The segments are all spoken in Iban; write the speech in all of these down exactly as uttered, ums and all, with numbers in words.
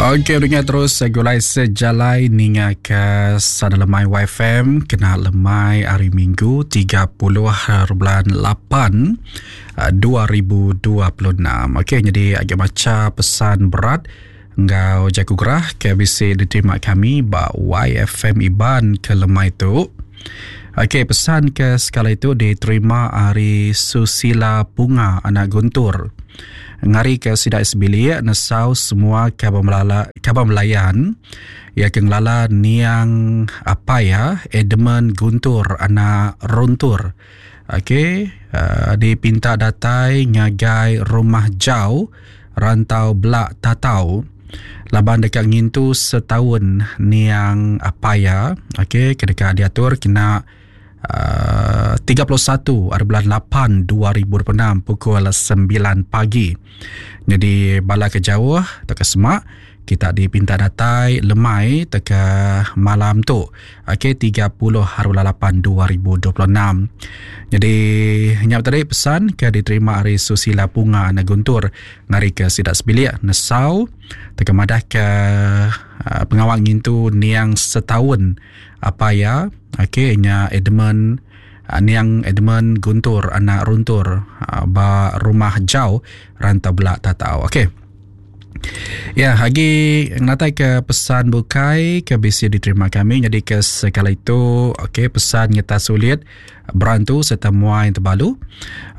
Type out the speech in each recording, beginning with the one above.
Okey, dengar terus gulai sejalai ninga ke Sada Lemai Y F M kena lemai hari Minggu tiga puluh bulan lapan dua ribu dua puluh enam. Okey, jadi agak baca pesan berat ngau jaku gerah ke bisi diterima kami ba Y F M Iban ke lemai tu. Okey, pesan ke sekali itu diterima hari Susila Punga anak Guntur. Ngari ke sidak sebilik nesau semua kaban melala kaban melayan ya ke ngelala niang apa ya Edmund Guntur anak Runtur. Okey, uh, dipinta datai ngagai rumah jauh rantau Belak Tatau laban dekat ngintu setahun niang apa ya. Okey, kedekat diatur kena Uh, tiga puluh satu hari bulan lapan dua ribu dua puluh enam pukul sembilan pagi. Jadi bala ke jauh teka semak kita dipinta datai lemai teka malam tu. Okey, tiga puluh hari bulan lapan dua ribu dua puluh enam. Jadi nyap tadi pesan ke diterima hari Susila Punga anak Guntur ngari ke sidak sebilik nesau teka madah ke uh, pengawal ngintu niang setahun apa ya. Okey, nya Edmund uh, niang Edmund Guntur anak Runtur uh, ba rumah jauh rantau Belak Tatau. Okey. Ya, lagi ngatai ke pesan bukai ke bisi diterima kami. Jadi ke sekali itu, okey, pesan nyata sulit berantu serta muai terbalu.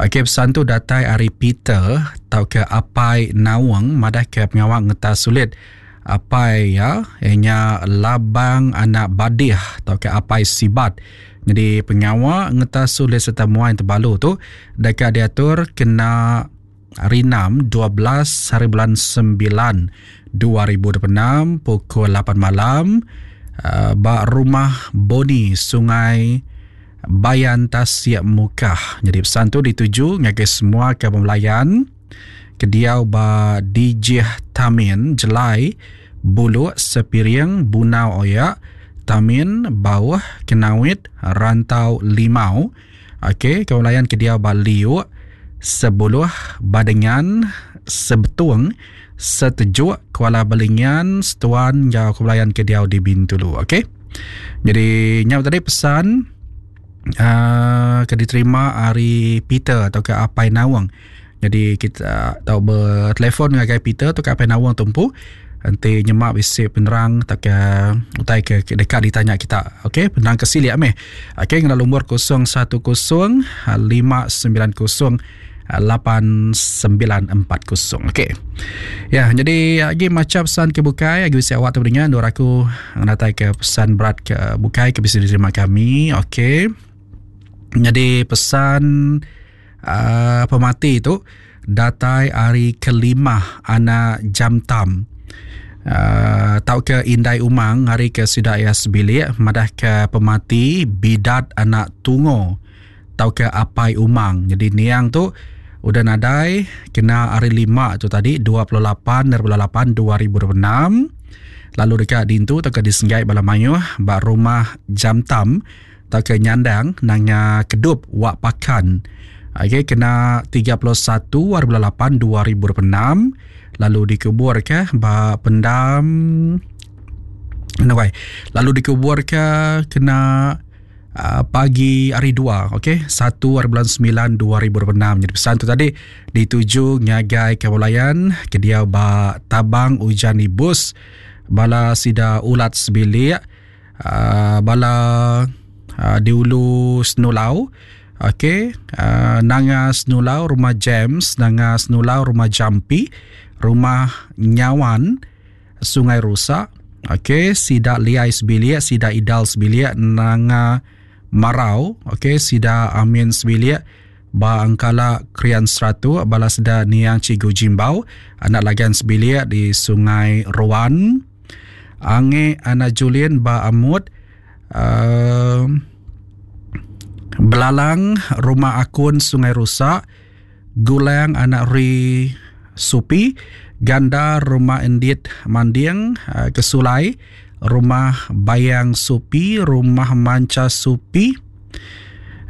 Okey, pesan tu datai ari Peter tau ke Apai Nawang madah ke pengawal ngeta sulit Apai ya, ianya Labang anak Badih tau ke Apai Sibat. Jadi pengawal ngeta sulit serta muai terbalu tu dekat diatur kena hari enam, dua belas hari bulan sembilan dua ribu dua puluh enam pukul lapan malam uh, ba rumah Boni Sungai Bayan Tasik Mukah. Jadi pesan tu dituju ngagai semua kaban melayan kediau ba Dijih Tamin Jelai Buluk Sepiring Bunau Oyak Tamin Bauh Kenawit Rantau Limau. Okey, kaban melayan kediau ba Liuk Sebuluh Badengan Sebetung Setejuk Kuala Belingan Setuan jauh kebelayan ke diau di Bintulu. Okey. Jadi nyau tadi pesan uh, ke diterima hari Peter atau ke Apai Nawang. Jadi kita tahu bertelefon dengan Peter atau ke Apai Nawang tumpu nanti nyemak bisi penerang tak ke utai ke dekat ditanya kita. Okey, penerang ke sili ameh. Okey, ngena nombor kosong satu kosong lima sembilan kosong lapan sembilan empat kosong. Okey. Ya, jadi lagi macam pesan ke bukai, lagi bisa awak tu dengar nur aku ngatai ke pesan berat ke bukai ke bisa diterima kami. Okey. Jadi pesan uh, pemati itu datai hari kelima anak Jamtam. Uh, tau ke Indai Umang hari ke sidak ya sebilik madah ke pemati bidat anak Tungo tau ke Apai Umang. Jadi niang tu udah nadai kena hari lima tu tadi dua puluh lapan bulan lapan dua ribu dua puluh enam. Lalu dekat dintu tau ke disenggai bala mayuh ba rumah Jamtam tau ke Nyandang nanga Kedup Wak Pakan. Okey, kena tiga puluh satu hari bulan lapan dua ribu dua puluh enam. Lalu dikubur ke ba pendam anyway, lalu dikubur ke kena uh, pagi hari dua, okey, satu hari bulan sembilan dua ribu dua puluh enam. Jadi pesan tu tadi dituju ngagai kewalayan ke dia ba Tabang Ujan Ibus bala sida ulat sebilik uh, bala uh, di Ulu Senulau. Okey, uh, Nanga Senulau rumah James, Nanga Senulau rumah Jampi, rumah Nyawan Sungai Rusak. Okey, sida Liai sebilik, sida Idal sebilik, Nanga Marau. Okey, sida Amin sebilik, ba Angkala Krian Seratu, bala sida Niang Cigu Jimbau, anak Lagan sebilik di Sungai Ruan. Ange anak Julian ba Amut, uh, Belalang rumah Akun Sungai Rusak, Gulang anak Ri Supi, Ganda rumah Endit Manding, Kesulai rumah Bayang Supi, rumah Manca Supi.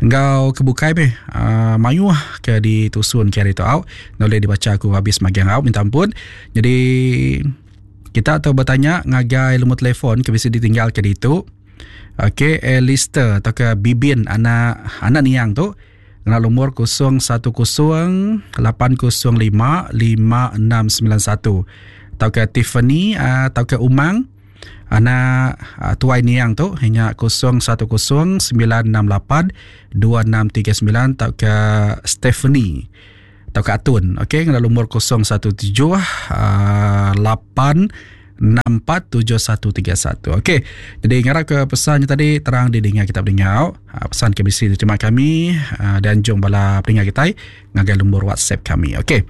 Engkau kebukai be uh, mayuh ke ditusun ke hari tu au. Boleh dibaca aku habis magiang au, minta ampun. Jadi Kita tau betanya ngagai lumur telefon ke bisi ditinggal ke ditu. Okey, Alistair atau ke Bibin anak anak niang tu ngena lumur kosong satu kosong lapan kosong lima lima enam sembilan satu. Atau ke Tiffany atau ke Umang anak tuai niang tu hanya kosong satu kosong sembilan enam lapan dua enam tiga sembilan atau ke Stephanie atau ke Atun. Okey, ngena lumur kosong satu tujuh lapan enam empat tujuh satu tiga satu. Okey, jadi ngarap ke pesannya tadi terang didengar kita pendengar. Pesan ke bisi diterima kami dan jom bala pendengar kita ngagai lumur WhatsApp kami. Okey.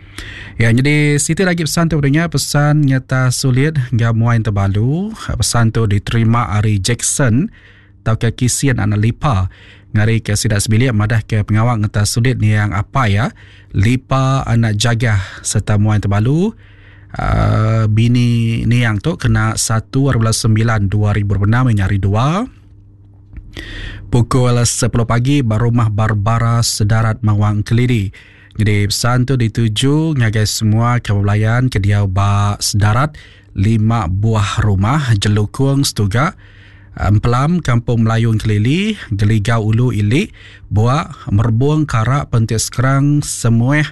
Ya, jadi situ lagi pesan tu pendengar, pesan nyata sulit ngau muain terbalu. Pesan tu diterima ari Jackson tau ke Kisian anak Lipa. Ngari ke sidak sebilik madah ke pengawal ngeta sulit ni yang apa ya Lipa anak jagah serta muain terbalu. Uh, bini niang tu kena satu bulan sembilan dua ribu enam nyari dua pukul sepuluh pagi barumah Barbara Sedarat Mawang Kelidi. Jadi pesan tu dituju ngagai semua kebelayan ke diau ba Sedarat lima buah rumah Jelukung Setuga Empelam Kampung Melayu Kelili Geligau Ulu Ili Buak Merbung Karak Pentik Sekerang Semueh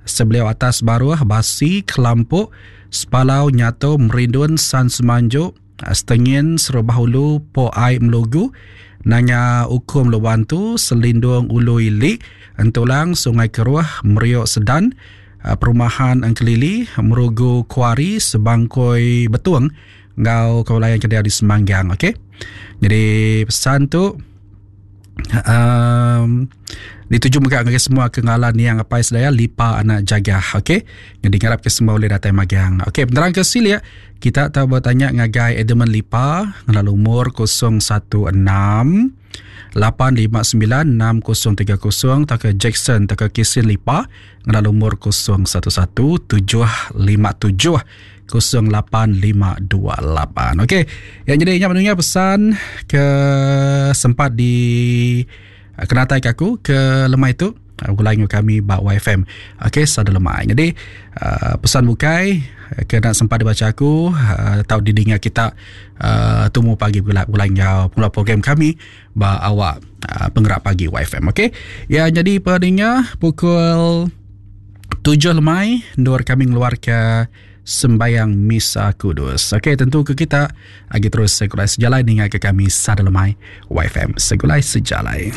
Sebeliau Atas Baruah Basi Kelampuk Sepalau Nyato Merindun San Semanjuk Setengin Serubah Ulu Po Ai Melugu Nanya Ukum Lubantu Selindung Ulu Ili Entulang Sungai Keruah Meriok Sedan Perumahan Engkelili Merugu Kuari Sebangkoi Betung ngau kaulayan kedai di Semanggang. Okey. Jadi pesan tu um, dituju mega ngagai semua kengalan yang apa sedaya Lipa anak jagah. Okey. Jadi ngarap ke semua boleh datang magang. Okey, penerang ke silia kita tahu bertanya ngagai Edmund Lipa ngena lumur kosong satu enam lapan lima sembilan enam kosong tiga kosong tak ke Jackson tak ke Kisin Lipa ngena lumur kosong satu satu tujuh lima tujuh kosong lapan lima dua lapan. Okey, yang jadi ingat mendengar pesan ke sempat di kenatai ke aku ke lemai tu gulai dengan kami bak Y F M. Okey, sada lemai. Jadi uh, pesan bukai kena sempat dibaca aku uh, tahu didengar kita uh, tumu pagi gulai gulai ngau pula program kami bak awak uh, penggerak pagi Y F M. Okey. Ya, jadi pendengar pukul tujuh lemai nur kami ngeluar ke sembayang Misa Kudus. Okey, tentu ke kita lagi terus segulai sejalai dengan ke kami sada lemai Y F M segulai sejalai.